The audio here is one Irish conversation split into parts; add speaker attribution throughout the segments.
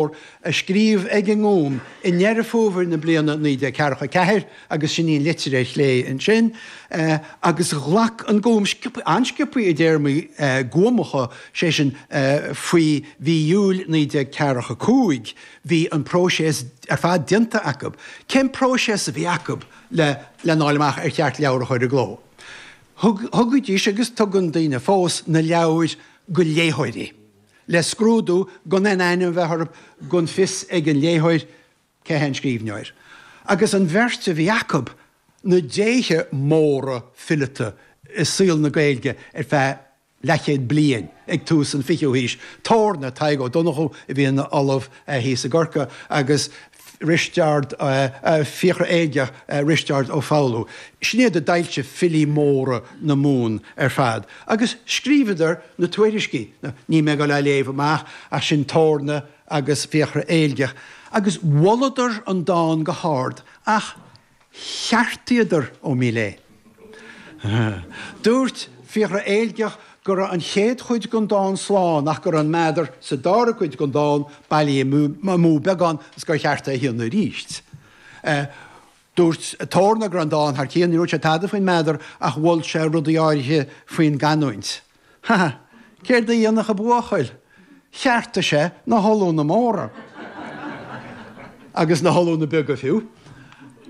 Speaker 1: A scríobh ag an nGúm i nDeireadh Fómhair na bliana 1944, agus sin í an litir ar chlé ansin, agus ghlac an Gúm, an-sciobtha i dtéarmaí Gúmacha, sé sin, faoi mhí Iúil 1945, bhí an próiseas ar fad déanta acu. Cén próiseas a bhí acu le lena fháil amach ar cheart leabhar a chur i gcló? Thugaidís, agus tugann daoine fós, na leabhair go léitheoirí. le scrúdú gan aon ainm a bheith orthu, gan fios ag an léitheoir cé hé an scríbhneoir. Agus an bheirt a bhí acu, na déithe móra fileata i saol na Gaeilge ar feadh leathchéad bliain ag tús an fichiú haois, Torna, Tadhg Ó Donnchú a bhí ina ollamh thíos i gCorcaigh, agus Risteard, Fiachra Éilgeach, Risteard Ó Foghlú. Sin iad a d'fhoilsigh filí móra na Mumhan ar fad. Agus scríobhadar na tuairiscí. Níl mé ag dul á léamh amach ach sin Torna agus Fiachra Éilgeach. Agus mholadar an dán go hard ach cheartaíodar Ó Míl é. Dúirt Fiachra Éilgeach go raibh an chéad chuid den dán slán ach go raibh an meadar sa dara cuid den dán bailithe amú beagán agus gur cheart é a dhéanamh arís. Dúirt Torna go raibh an dán thar cionn, ní dúirt sé tada faoin meadar ach mhol sé rudaí áirithe faoin gcanúint. Ha! Céard a dhéanfadh an buachaill? Cheartaigh sé na hollúna móra. Agus na hollúna beaga fiú.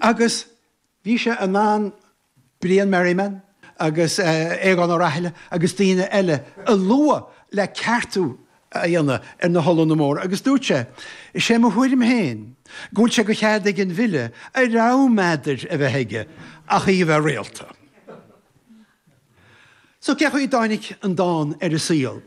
Speaker 1: Agus bhí sé in ann Brian Merriman agus Aogán Ó Rathaille agus daoine eile a lua le ceartú a dhéanamh ar na hollúna móra agus dúirt sé, Is é mo thuairim féin go bhfuil sé de chead ag an bhfile a rogha meadair a bheith aige ach í a bheith rialta. So cé chaoi a dtáinig an dán ar an saol?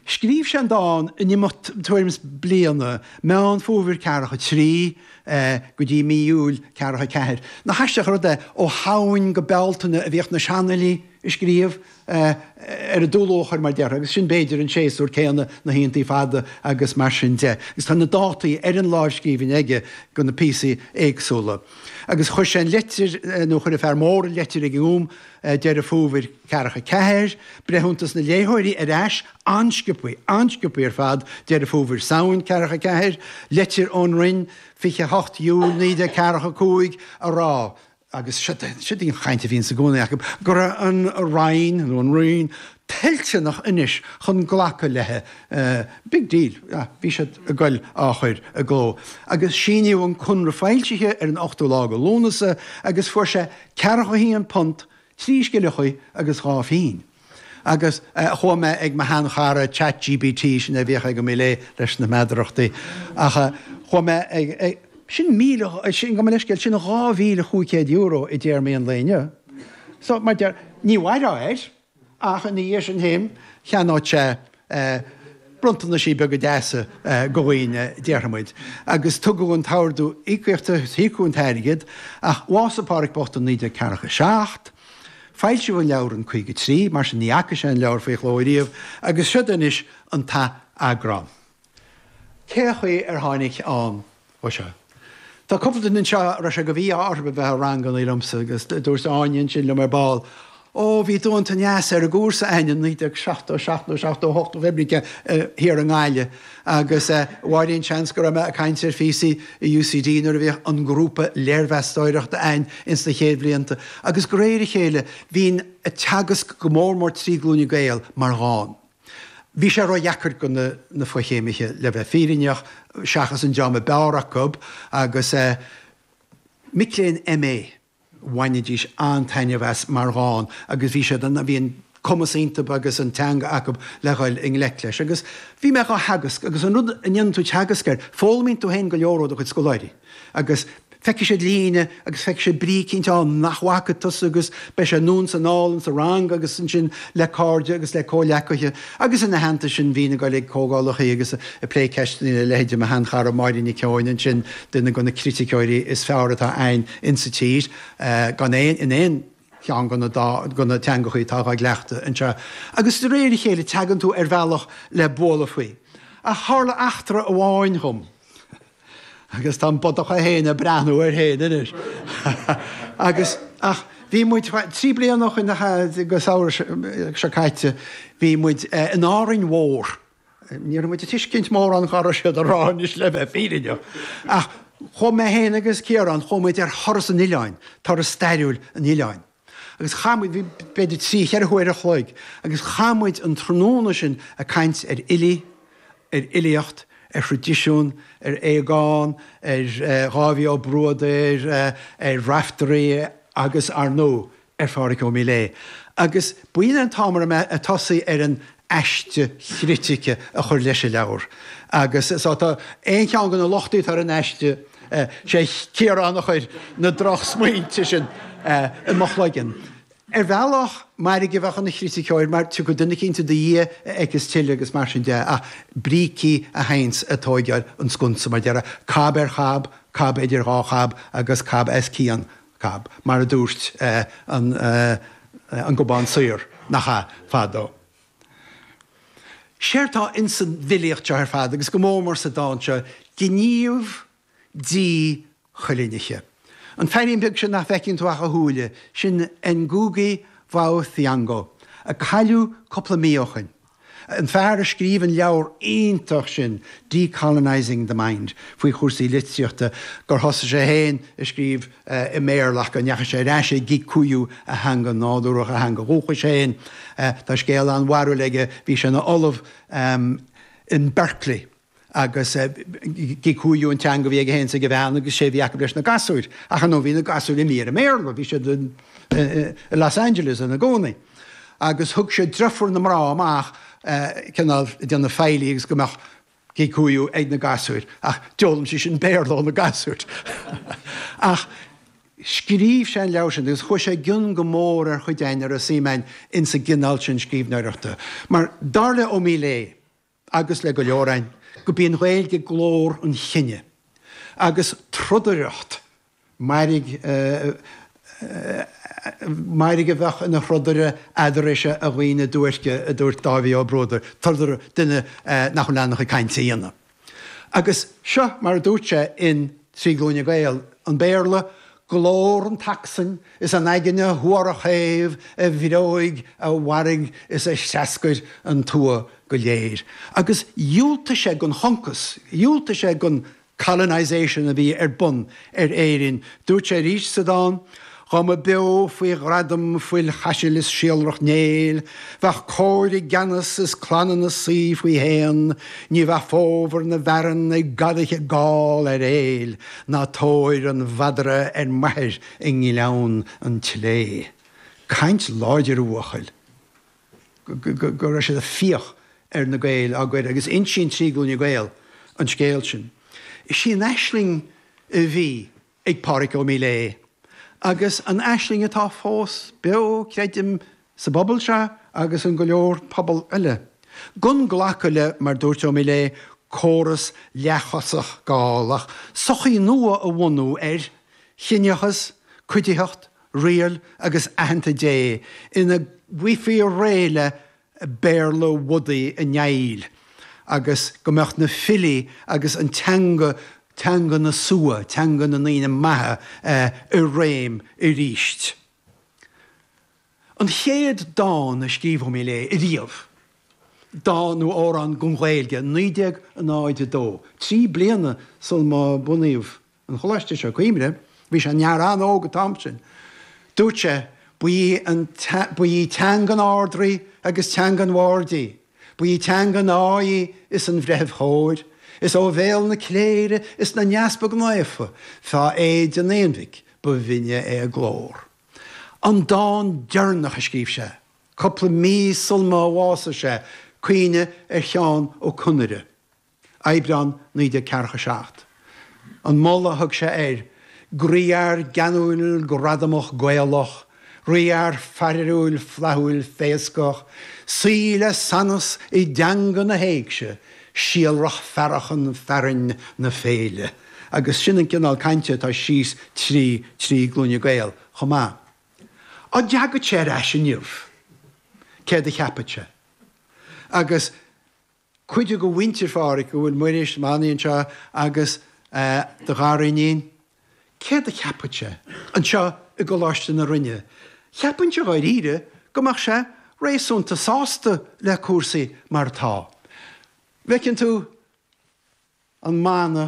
Speaker 1: Scríobh sé an dán in imeacht tuairim is bliana, Meán Fómhair 43 go dtí mí Iúil 44. Nach aisteach an rud é, ó Shamhain go Bealtaine a bhíodh na seanfhilí ag scríobh ar an dúluachair mar déarfá, agus sin b'fhéidir an séasúr céanna, na hoícheantaí fada agus mar sin de. Agus tá na dátaí ar an lámhscríbhinn aige do na píosaí éagsúla. Agus chuir sé an litir, nó chuir an fear mór an litir ag an nGúm, Deireadh Fómhair 44, breithiúntas na léitheoirí ar ais, an-sciobtha, an-sciobtha ar fad, Deireadh Fómhair Samhain 44, leitir ón Roinn, 28 Iúil 1945, a rá, agus siod í an chaint a bhíonns i gcónaí acu, go raibh an Roinn, nó an Roinn, toilteanach anois chun glacadh léi. Big deal. Bhí siad ag goil á chur i gcló. Agus síníodh an conradh foilsithe ar an ochtú lá de Lúnasa agus fuair sé £41, 3 scilleachaí agus 2 phingin. Agus chuaigh mé ag mo shean-chara Chat GPT, sin é a bhíodh ag Ó Míl é leis na meadarachtaí, ach chuaigh mé ag, sin míle, sin, gabh mo leithscéal, sin €2,500 i dtéarmaí an lae inniu. So, mar deir, ní mhairfeá air. Ach ina dhiaidh sin féin, cheannódh sé bronntanaisí beaga deasa go dhaoine, déarfaidh muid. Agus tugadh an t-ordú íocaíochta, íocadh an t-airgead, ach bhásaigh Pádhraic bocht in 1947. Foilsíodh an leabhar in 53, mar sin ní fhaca sé an leabhar faoi chló ariamh, agus siod anois an t-atheagrán. Cé chaoi ar tháinig ann ó seo? Tá cúpla duine anseo a raibh sé de mhí-ádh orthu a bheith i ranganna liomsa agus dúirt Áine ansin liom ar ball, Ó, bhí tú iontach deas ar an gcúrsa a'inn in 1977 nó 78 nó pé brí thiar i nGaillimh agus Mháirín seans go raibh mé ag caint ar phíosaí i UCD nuair a bhíodh an grúpa léirmheastóireachta a'inn ins na chéad bhlianta agus de réir a chéile bhínn ag teagasc go mór mór trí Glúine Gael mar dhán. Bhí sé ródheacair go na fochéimithe, le bheith fírinneach, seachas an dream a b'fhearr acu, agus mic léinn MA, bhainidís an-taitneamh as mar dhán agus bhí siad, bhí an cumas iontu agus an teanga acu le dhul i ngleic leis. Agus bhí mé dhá theagasc agus an rud a ndéanann tú teagasc air, foghlaimíonn tú féin go leor ó do chuid scoláirí. Agus feicfidh siad líne agus feicfidh siad brí eicínt ann nach bhfaca tusa agus beidh sé anonn is anall insa rang agus ansin le cairde agus le comhleacaithe. Agus ina theannta sin bhínn ag dul ag comhdhálachaí agus ag plé ceisteanna le leithéide mo sheanchara Máirín Nic Eoin ansin, duine de na criticeoirí is fearr atá a'inn insa tír, gan aon, in aon cheann de na dá, de na teangachaí atá dhá gcleachtadh anseo. Agus de réir a chéile tagann tú ar bhealach le bualadh faoi. Ach tharla eachtra amháin dhom. Agus tá an bodach é féin ag breathnú air féin anois. Agus, ach, bhí muid, 3 bliana ó shin go samhradh seo caite, bhí muid in Árainn Mhór. Ní raibh muid ag tuiscint mórán cá raibh siad a rá anois le bheith fírinneach. Ach chuaigh mé féin agus Ciarán, chuaigh muid ar thuras an oileáin, turas stairiúil an oileáin. Agus chaith muid, bhí b'fhéidir 3, 4 huaire a chloig, agus chaith muid an tráthnóna sin ag caint ar fhilí, ar fhilíocht, ar thraidisiún, ar Aogán, ar Dháibhí Ó Bruadair, ar Raiftearaí agus, ar ndóigh, ar Phádhraic Ó Miléadha. Agus b'in an t-am a raibh mé ag tosaí ar an aiste chritice a chur leis an leabhar. Agus so tá aon cheann de na lochtaí atá ar an aiste, sé Ciarán a chuir na drochsmaointe sin i mo chloigeann. Ar bhealach, mairg a bheadh ina chriticeoir mar tiocfaidh duine eicínt i do dhiaidh a fheiceas tuilleadh agus mar sin de, ach brící a théanns ag tóigeáil an sconsa, mar déarfá, cab ar chab, cab idir dhá chab agus cab as cionn cab, mar a dúirt an an Gobán Saor, nach ea, fadó. Séard tá ins an bhfilíocht seo ar fad, agus go mór mór sa dán seo, gníomh díchoilínithe. An feairín beag sin nach bhfeiceann tú ach a shúile, sin Ngugi wa Thiong'o, a cailleadh cúpla mí ó shoin. An fear a scríobh an leabhar iontach sin, Decolonising the Mind, faoi chúrsaí litríochta, gur thosaigh sé féin ag scríobh i mBéarla ach go ndeachaigh sé ar ais ag Gikuyu, a theanga nádúrach, a theanga dhúchais féin. Tá scéal an-bharrúil aige, bhí sé ina ollamh in Berkeley agus Gikuyu an teanga a bhí aige féin is ag a bhean agus sé a bhí acu leis na gasúir. Ach ar ndóigh bhí na gasúir imithe ar an mBéarla, bhí siad i Los Angeles ina gcónaí. Agus thug sé deirfiúr na mná amach cineál ag déanamh faillí agus go mbeadh Gikuyu ag na gasúir. Ach d'fhoghlaim sí sin Béarla ó na gasúir. Ach scríobh sé an leabhar sin agus chuaigh sé i gcion go mór ar chuid againn a raibh suim againn ins an gcineál sin scríbhneoireachta. Mar dar le Ó Miléadha, agus le go leor againn, gurb í an Ghaeilge glór an chine, agus trodaireacht, mairg mairg a bheadh ina throdaire eadraibhse, a dhaoine duairce, a dúirt Dáibhí Ó Bruadair, trodaire, duine nach bhfuil in ann a chuid cainte a dhéanamh. Agus seo mar a dúirt sé in 3 Glúine Gael, an Béarla, glór an tacsain is an aigne shuarach shéimh a bhreoigh, a mharaigh is a threascair an tuath go léir. Agus dhiúltaigh sé don choncas, dhiúltaigh sé don colonisation a bhí ar bun ar Éirinn. Dúirt sé arís sa dán, Dhá mba beo faoi ghradam fuil Chaisil is síolrach Néill, bheadh cóir i gceannas is clanna 'na suí faoi shéan, ní bheadh fómhar na bhfearann ag gadaithe Gall ar Éill, ná tóir an mhadra ar m'athair i nGleann an tSlé. Caint láidir, a bhuachaill. go raibh siad ag fiach ar na Gaeil á gcur agus insíonn 3 Glúine Gael an scéal sin. Is í an aisling a bhí ag Pádraic Ó Miléadha agus an aisling atá fós beo, creidim, sa bpobal seo agus in go leor pobal eile. Gan glacadh le, mar dúirt Ó Miléadha, córas leathchosach Gall ach sochaí nua a bhunú ar chiníochas, cuiditheacht, riail agus aitheanta Dé ina bhfaighfí réidh le Béarla Bhudaí an Néill agus go mbeadh na filí agus an teanga, teanga na slua, teanga na ndaoine maithe, i réim arís. An chéad dán a scríobh Ó Miléadha ariamh, dán nó amhrán don Ghaeilge, 1902, 3 bliana sul má bunaíodh an choláiste seo, cuimhnigh, bhí sé ina fhear an-óg an t-am sin. Dúirt sé, Ba í an, ba í teanga an Ard-Rí agus teanga an bhaird í, ba í teanga an fháidh í is an bhreithimh chóir, is ó bhéal na cléire is na n-easpag naofa fá éide an aonmhic ba bhinne é a glór. An dán deireanach a scríobh sé, cúpla mí sul má bhásaigh sé, Caoineadh ar Sheán Ó Conaire. Aibreán 1947. An moladh a thug sé air, Groífhear geanúil gradamach Gaelach, rífhear fearúil flaithiúil féascach, saoi le sanas i dteanga na héigse, síolrach fearachan fearainn na féile. Agus sin an cineál cainte atá síos trí 3 Glúine Gael chomh maith. Á dteagadh sé ar ais inniu, céard a cheapfadh sé? Agus. Cuid de mhuintir Phádhraic, go bhfuil Muiris, Manaí anseo agus do ghariníon, céard a cheapfadh sé anseo i gColáiste na Rinne? Cheapfainnse dháiríre go mbeadh sé réasúnta sásta le cúrsaí mar atá. Bhfeiceann tú an mana.